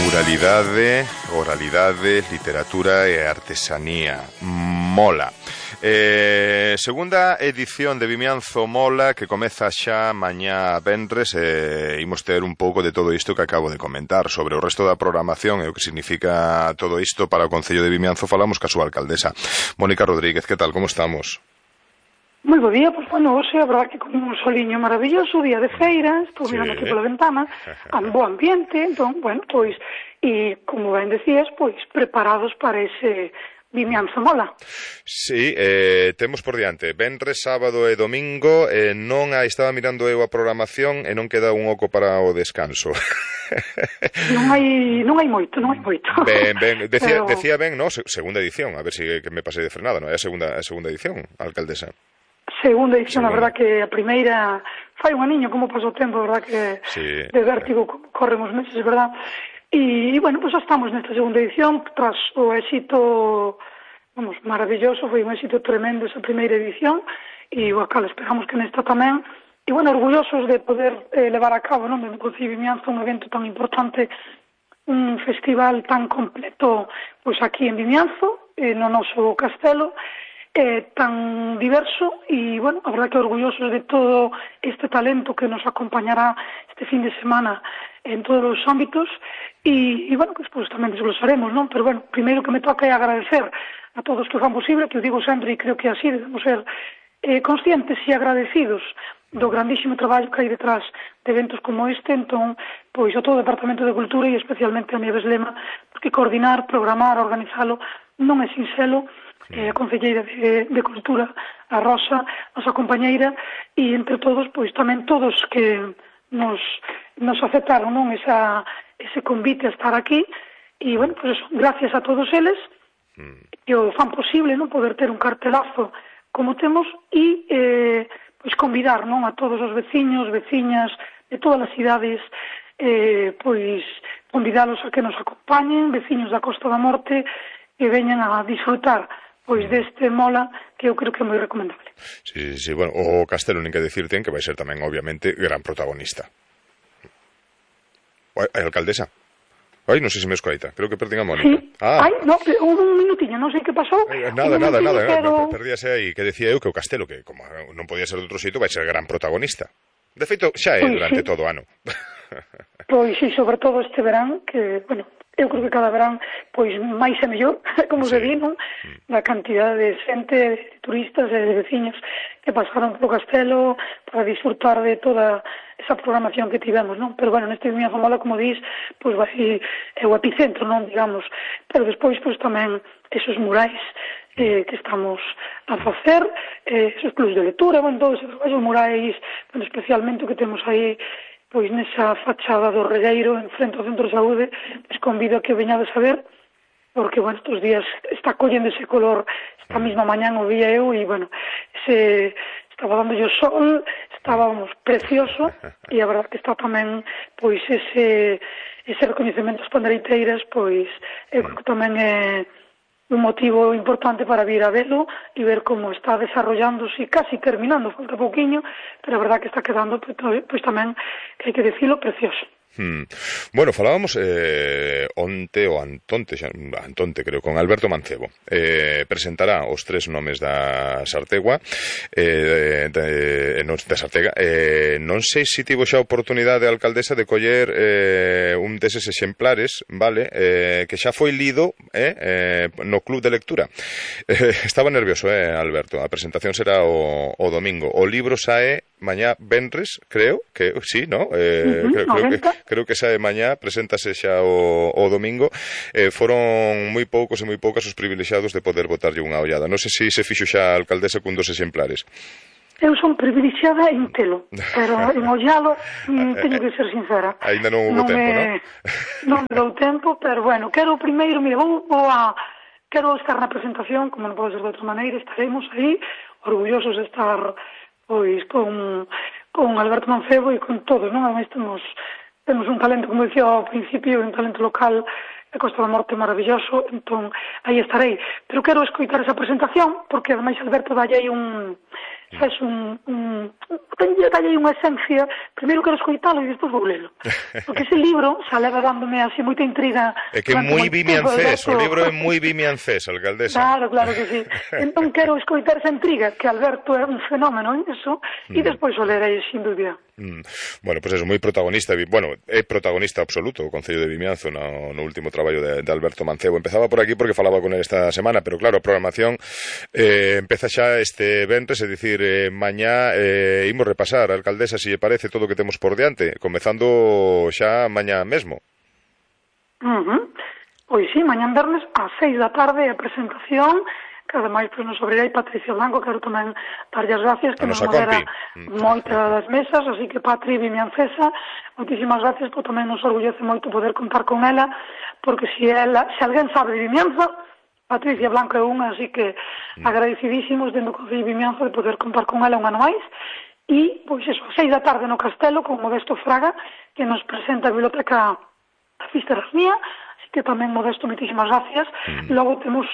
Muralidade, oralidade, literatura e artesanía. Mola. Segunda edición de Vimianzo Mola, que comeza xa mañá venres, imos ter un pouco de todo isto que acabo de comentar sobre o resto da programación e o que significa todo isto para o Concello de Vimianzo. Falamos ca súa alcaldesa, Mónica Rodríguez. Que tal, como estamos? Moi bo día, pois, bueno, hoxe a verdad que con un soliño maravilloso, día de feira, estou mirando aquí pola ventana, bo ambiente, entón, bueno, pois, e como ben decías, pois, preparados para ese Vimianzo Mola. Sí, temos por diante venres, sábado e domingo, non estaba mirando eu a programación e non queda un oco para o descanso. Non hai moito. Ben, decía ben, no, segunda edición, a ver se que me pasei de frenada, non é a segunda edición, alcaldesa. Segunda edición, a verdad que a primeira fai un aniño como pasou o tempo, a verdad que sí, de vértigo corren os meses, é verdad. E, bueno, pues xa estamos nesta segunda edición, tras o éxito, vamos, maravilloso, foi un éxito tremendo esa primeira edición, e o cal esperamos que nesta tamén, e, bueno, orgullosos de poder levar a cabo, non, no Concello de Vimianzo, un evento tan importante, un festival tan completo, pois aquí en Vimianzo, no noso castelo, tan diverso e, bueno, a verdad que orgullosos de todo este talento que nos acompañará este fin de semana en todos os ámbitos e bueno, que despois tamén desglosaremos, non? Pero, bueno, primeiro que me toca é agradecer a todos que o fan posible, que o digo sempre e creo que así debemos ser conscientes e agradecidos do grandísimo traballo que hai detrás de eventos como este, entón, pois, a todo o Departamento de Cultura e especialmente a Nieves Lema, porque coordinar, programar, organizalo non é sinxelo. A concelleira de Cultura, a Rosa, nosa compañeira, e entre todos, pois tamén todos que nos aceptaron, non, ese convite a estar aquí, e, bueno, pois eso, gracias a todos eles, que o fan posible, non, poder ter un cartelazo como temos, e, pois, convidar, non, a todos os veciños, veciñas de todas as cidades, pois, convidalos a que nos acompañen, veciños da Costa da Morte, que veñan a disfrutar pois deste Mola, que eu creo que é moi recomendable. Sí, bueno, o Castelo nin que decirte que vai ser tamén, obviamente, gran protagonista. Ai, alcaldesa. Ai, non sei se me escoita, creo que perdín a Mónica. Sí, no, un minutiño, non sei que pasou. Nada, perdíase aí, que decía eu que o Castelo, que como non podía ser de outro xeito, vai ser gran protagonista. De feito, xa é durante todo o ano. Pois, sí, sobre todo este verán, que, bueno, eu creo que cada verán, pois, máis e mellor, como se di, non? Da cantidad de xente, de turistas e de veciños que pasaron polo Castelo para disfrutar de toda esa programación que tivemos, non? Pero, bueno, neste Vimianzo Mola, como dis, pois vai é o epicentro, non, digamos, pero despois, pois, tamén esos murais que estamos a facer, esos clubs de lectura, bueno, todos esos traballos murais, bueno, especialmente o que temos aí, pois nesa fachada do Regueiro, en frente ao Centro de Saúde, pois convido a que veñades a ver, porque, bueno, estes días está collendo ese color, esta mesma mañán o vía eu, e, bueno, estaba dando o sol, estábamos precioso, e a verdade que está tamén, pois, ese recoñecemento ás pandereiteiras, pois, eu creo que tamén é un motivo importante para vir a velo e ver como está desarrollándose, casi terminando, falta pouquiño, pero a verdad que está quedando, pois tamén, que hai que decirlo, precioso. Bueno, falábamos onte ou Antonte creo, con Alberto Mancebo. Presentará os tres nomes da Sartegua, da Sartega. Non sei se tivo xa a oportunidade a alcaldesa de coller un deses exemplares, vale, que xa foi lido no club de lectura. Estaba nervioso, Alberto. A presentación será o domingo. O libro sae mañá venres, creo que sí, ¿no? Creo que sae mañá, preséntase xa o domingo. Foron moi poucos e moi poucas os privilexiados de poder botarlle unha ollada. Non sei se fixo xa a alcaldesa cun dos exemplares. Eu son privilexiada en telo, pero en ollalo teño que ser sincera. Ainda non hubo tempo, non? Non me dou tempo, pero bueno, quero primeiro, mira, quero estar na presentación, como non pode ser de outra maneira, estaremos aí, orgullosos de estar pois con Alberto Mancebo e con todos, non? Ademais temos un talento, como dicía ao principio, un talento local de Costa da Morte maravilloso, entón aí estarei. Pero quero escoitar esa presentación, porque ademais Alberto dalle aí es dalle unha esencia, primeiro quero escoitalo e despois vou lelo, porque ese libro xa leva dándome así moita intriga. É que é moi vimiancés, o libro é moi vimiancés, alcaldesa. Claro que sí. Entón quero escoitar esa intriga, que Alberto é un fenómeno en eso, e despois o lerei sin dúbida. Bueno, pois é moi protagonista, é protagonista absoluto o Concello de Vimianzo no último traballo de Alberto Mancebo. Empezaba por aquí porque falaba con él esta semana, pero claro, a programación empeza xa este venres, é dicir, mañá imos repasar, alcaldesa, se lle parece todo o que temos por diante, comezando xa mañá mesmo. Pois sí, mañá vernes ás 6 da tarde a presentación, que ademais nos abrirá Patricia Blanco, quero tamén darlle as gracias, que nos modera moitas das mesas, así que Patri Vimiancesa, moitísimas gracias, porque tamén nos orgullece moito poder contar con ela, porque se alguén sabe de Vimianzo, Patricia Blanco é unha, así que agradecidísimos dentro do Concello de Vimianzo de poder contar con ela un ano máis. E, pois eso, a 6 da tarde no Castelo, con Modesto Fraga, que nos presenta a biblioteca da Fisterasmía, que tamén Modesto, moitísimas gracias. Logo temos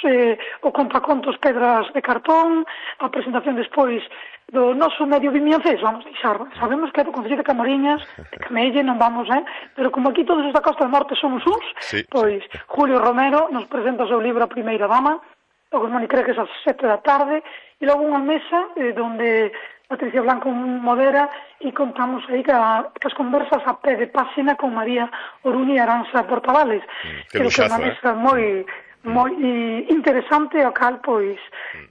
o contacontos Pedras de Cartón, a presentación despois do noso medio vimiancés, vamos deixar. Sabemos que é do Concello de Camariñas, de Camelle, non vamos, pero como aquí todos os da Costa da Morte somos uns, pois Julio Romero nos presenta o seu libro A Primeira Dama, logo Moni cree que é ás 7 da tarde, e logo unha mesa donde Patricia Blanco modera e contamos aí que as conversas a pé de páxina con María Oruña e Aranza Portavales. Creo que é unha mesa moi interesante, ao cal, pois,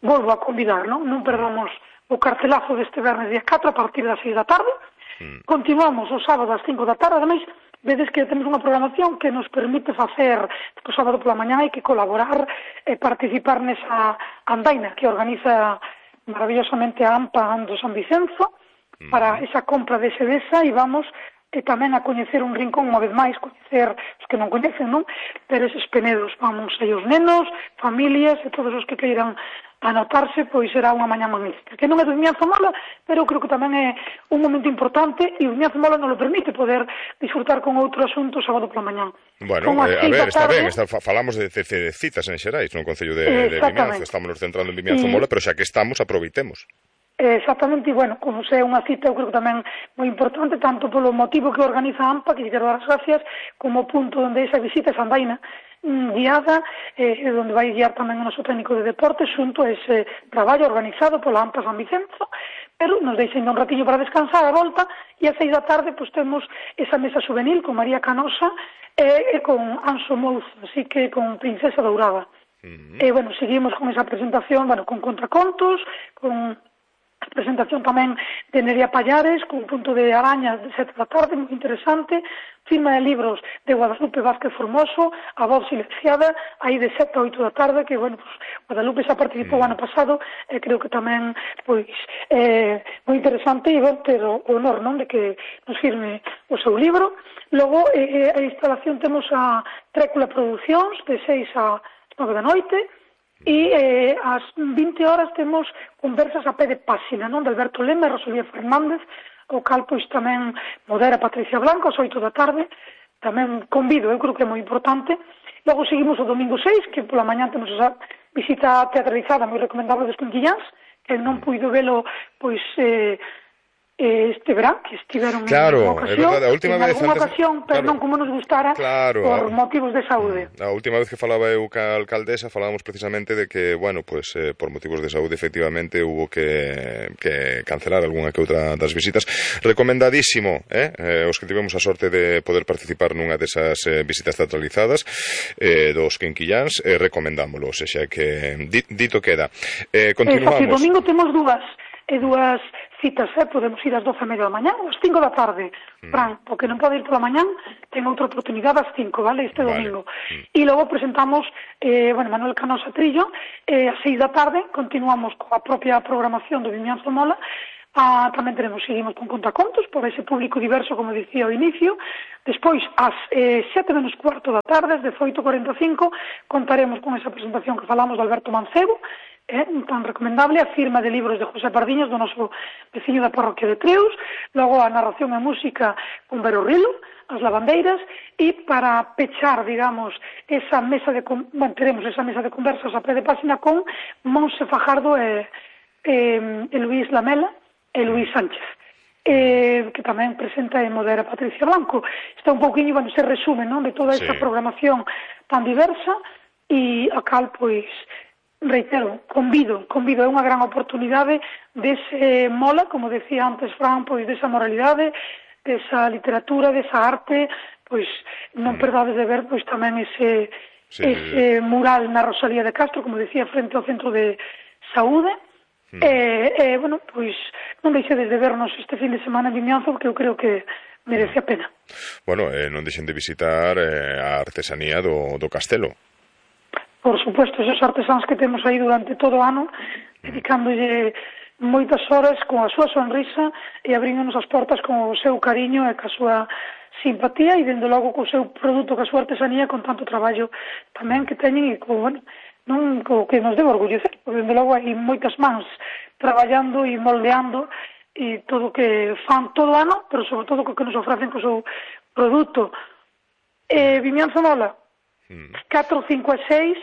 volvo a convidar, non perdamos o cartelazo deste vernes día 4 a partir das 6 da tarde. Continuamos o sábado ás 5 da tarde, ademais, vedes que temos unha programación que nos permite facer o sábado pola mañá e que colaborar e participar nesa andaina que organiza maravillosamente a AMPA Ando San Vicenzo para esa compra de sedesa, e vamos tamén a coñecer un rincón unha vez máis, coñecer os que non coñecen, non? Pero eses Penedos, vamos aí os nenos, familias e todos os que queiran anotarse, pois será unha mañá magnífica, que non é do Vimianzo Mola, pero creo que tamén é un momento importante e o Vimianzo Mola non lo permite poder disfrutar con outro asunto sábado pola mañá. Bueno, a ver, está ben, falamos de citas en Xerais no Concello de Vimianzo, estamos nos centrando en Vimianzo Mola, pero xa que estamos, aproveitemos. Exactamente, e bueno, como se é unha cita, eu creo que tamén moi importante, tanto polo motivo que organiza a AMPA, que lle quero dar as gracias, como o punto onde esa visita, esa andaina guiada, onde vai guiar tamén o noso técnico de deportes, xunto a ese traballo organizado pola AMPA San Vicenzo, pero nos deixen un ratiño para descansar a volta, e a 6 da tarde pois temos esa mesa juvenil con María Canosa e con Anso Mouzo, así que con Princesa Dourada. E, bueno, seguimos con esa presentación, bueno, con contracontos, con a presentación tamén de Nerea Pallares, con un punto de arañas de 7 da tarde, moi interesante, firma de libros de Guadalupe Vázquez Formoso, a voz silenciada, aí de 7 a 8 da tarde, que, bueno, pues, Guadalupe xa participou ano pasado, e creo que tamén, pois, moi interesante, e ben, ter o honor, non, de que nos firme o seu libro. Logo, a instalación temos a Trécula Producións, de 6 a 9 da noite, e ás 20 horas temos conversas a pé de páxina, non, de Alberto Lema e Rosalía Fernández, o cal pois tamén modera Patricia Blanco ás 8 da tarde, tamén convido, eu creo que é moi importante. Logo seguimos o domingo 6, que pola mañá temos esa visita teatralizada moi recomendable dos Quinquillans, que non puido velo pois este verán, que estiveron claro, en ocasión, a última vez en ocasión, pero non como nos gustara, por motivos de saúde. A última vez que falaba eu ca alcaldesa falábamos precisamente de que, bueno, pues por motivos de saúde efectivamente hubo que cancelar algunha que outra das visitas. Recomendadísimo, os que tivemos a sorte de poder participar nunha desas visitas teatralizadas dos Quinquillans, recomendámoslo, xa que dito queda. Continuamos. O domingo temos dúas citas, podemos ir ás 12:30 da mañá ou ás 5 da tarde. Fran, porque non pode ir pola mañán, ten outra oportunidade ás 5, vale, este domingo. E logo presentamos, Manuel Canosa Trillo, ás 6 da tarde, continuamos coa propia programación do Vimianzo Mola, tamén seguimos con contacontos por ese público diverso, como dicía ao inicio. Despois, ás 7:15 da tarde, ás 18:45, contaremos con esa presentación que falamos de Alberto Mancebo, tan recomendable, a firma de libros de José Pardiñas, do noso veciño da parroquia de Treus, logo a narración e música con Vero Rilo, as lavandeiras, e para pechar, digamos, teremos esa mesa de conversas a pé de páxina con Monse Fajardo e Luís Lamela e Luís Sánchez, que tamén presenta e modera Patricia Blanco. Está un pouquinho, bueno, se resume, non, de toda esta programación tan diversa, e a cal, pois, reitero, convido, é unha gran oportunidade dese mola, como decía antes Fran, pois desa moralidade, desa literatura, desa arte, pois non perdades de ver pois tamén ese mural na Rosalía de Castro, como decía, frente ao Centro de Saúde. Bueno, pois non deixedes de vernos este fin de semana en Vimianzo, porque eu creo que merece a pena. Bueno, non deixen de visitar a artesanía do castelo. Por supuesto, esos artesáns que temos aí durante todo o ano, dedicándolle moitas horas con a súa sonrisa e abríndonos as portas con o seu cariño e ca súa simpatía e, dende logo, co seu produto, ca súa artesanía, con tanto traballo tamén que teñen e bueno, non co que nos debe orgullecer, porque, dende logo, hai moitas mans traballando e moldeando e todo o que fan todo o ano, pero sobre todo co que nos ofrecen co seu produto. Vimianzo Mola, 4, 5 e 6,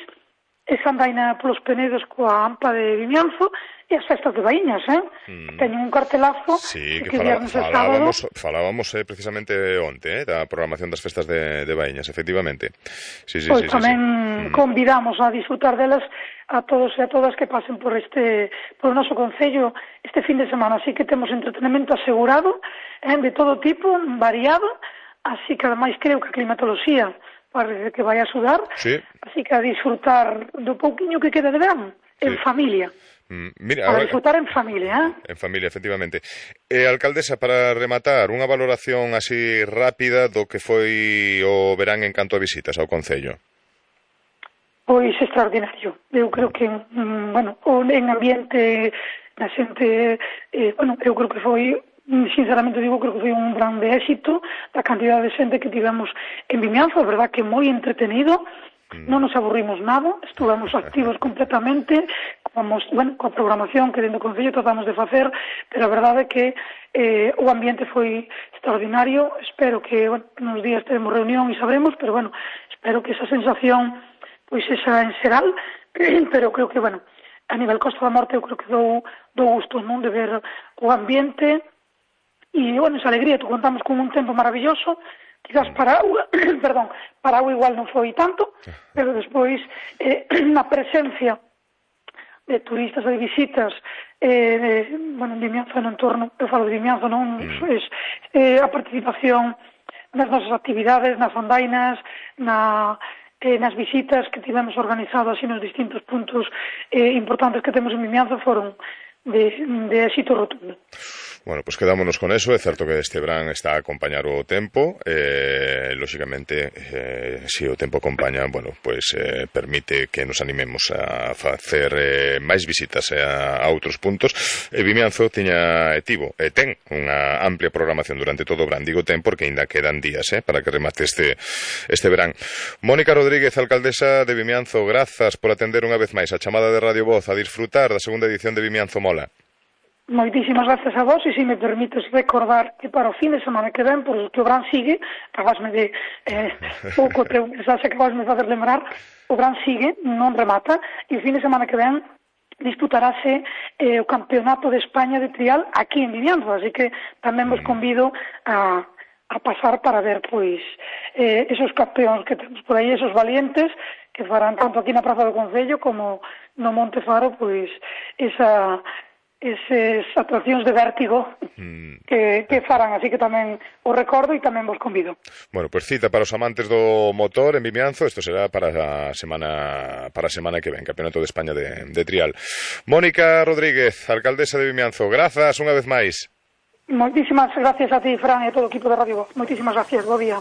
esa andaina polos Penedos coa AMPA de Vimianzo e as festas de Baíñas, que teñen un cartelazo que falábamos precisamente onte, da programación das festas de Baíñas, efectivamente. Pois tamén convidamos a disfrutar delas a todos e a todas que pasen por o noso concello este fin de semana, así que temos entretenimento asegurado, de todo tipo, variado, así que ademais creo que a climatoloxía parece que vai a sudar, así que a disfrutar do pouquiño que queda de verán, en familia. Para disfrutar en familia, En familia, efectivamente. Alcaldesa, para rematar, unha valoración así rápida do que foi o verán en canto a visitas ao concello. Pois extraordinario. Eu creo que, bueno, en ambiente da xente, bueno, eu creo que foi, sinceramente digo, creo que foi un grande éxito da cantidad de xente que tivemos en Vimianzo. A verdad que moi entretenido, non nos aburrimos nada, estuvamos activos completamente, bueno, coa programación que dentro do Concello tratamos de facer, pero a verdade é que o ambiente foi extraordinario. Espero que, bueno, nos días teremos reunión e sabremos, pero bueno, espero que esa sensación pois esa en xeral, pero creo que, bueno, a nivel Costa da Morte eu creo que dou gusto, non, de ver o ambiente. E, bueno, esa alegría, tú contamos con un tempo maravilloso, quizás para agua, perdón, para agua igual non foi tanto, pero despois na presencia de turistas e de visitas, bueno, en Vimianzo no entorno, eu falo de Vimianzo, non, a participación nas nosas actividades, nas andainas, nas visitas que tivemos organizadas e nos distintos puntos importantes que temos en Vimianzo foron de éxito rotundo. Bueno, pues quedámonos con eso. É certo que este verán está a acompañar o tempo, lóxicamente, se o tempo acompaña, bueno, pues permite que nos animemos a facer máis visitas a outros puntos. Vimianzo ten unha amplia programación durante todo o verán, digo ten porque ainda quedan días para que remate este verán. Mónica Rodríguez, alcaldesa de Vimianzo, grazas por atender unha vez máis a chamada de Radio Voz, a disfrutar da segunda edición de Vimianzo Mola. Moitísimas gracias a vos, e se me permites recordar que para o fin de semana que ven, por que o Gran sigue, acabasme de pouco teu mensaxe, acabasme de fazer lembrar, o Gran sigue, non remata, e o fin de semana que ven disputarase o Campeonato de España de trial aquí en Vimianzo, así que tamén vos convido a pasar para ver, pois, esos campeóns que temos por aí, esos valientes que farán tanto aquí na Praza do Concello como no Monte Faro, pois, esas atraccións de vértigo que farán, así que tamén o recordo e tamén vos convido. Bueno, pues cita para os amantes do motor en Vimianzo, isto será para a semana que ven, Campeonato de España de trial. Mónica Rodríguez, alcaldesa de Vimianzo, grazas unha vez máis. Moitísimas gracias a ti, Fran, e a todo o equipo de Radio Voz. Moitísimas gracias, bo día.